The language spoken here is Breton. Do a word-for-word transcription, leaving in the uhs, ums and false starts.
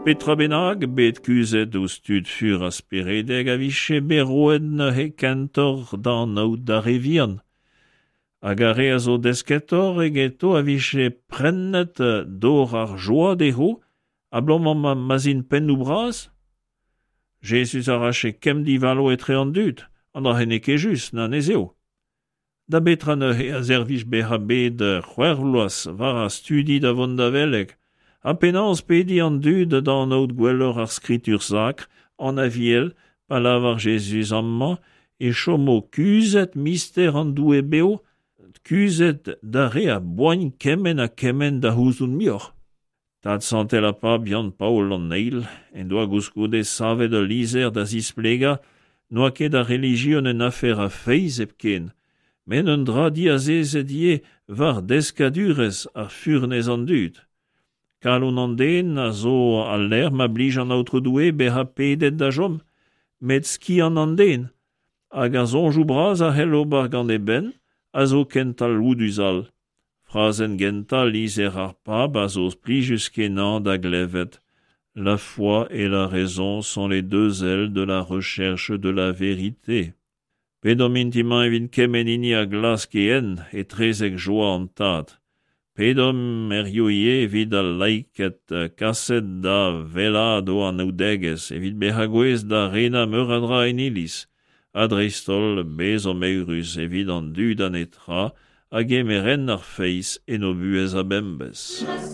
Petra bennak bet kuzhet ouzh tud fur ha speredek a vije bet roet neuze kentoc'h da anaout d'ar re vihan. Hag ar re a zo desketoc'h egeto a vije prennet dor ar joa dezho abalamour ma ma'z int pennoù bras? Jezuz a rafe kemm divalo etre an dud, an dra-se n'eo ket just na ne'z eo. Da betra neuze a servij bezañ bet c'hwec'h vloaz war ar studi da vont da veleg? Ha penaos pediñ an dud da anaout gwelloc'h ar skritur sakr, an Aviel, pa lavar Jezuz amañ e chomo kuzhet mister an Doue bev, kuzhet d'ar re a boagn kement ha kement da c'houzout muioc'h. Tad santel ar pab Yann-Paol an Eil en doa koulskoude savet ul lizher da zisplegañ n'oa ket ar relijion un afer a feiz hepken, met un dra diazezet ivez war deskadurezh ha furnez an dud. Kalon an den a zo al lec'h ma blij an Aotrou Doue bezañ pedet da chom, met skiant an den, hag ar soñjoù bras a c'hell ober gant e benn, a zo ken talvoudus all. Frazenn gentañ lizher ar pab a zo plijus-kenañ da glevet. La foi et la raison sont les deux ailes de la recherche de la vérité. Pedomp int-mañ evit kement hini a glask e hent etrezek joa an Tad. Pedomp hiziv ivez evit al laiked kaset da wellaat o anaoudegezh evit bezañ gouest da renañ meur a dra en iliz. Ha dreist-holl bezomp eürus evit an dud a netra a gemer hent ar feiz en o buhez a-bemdez.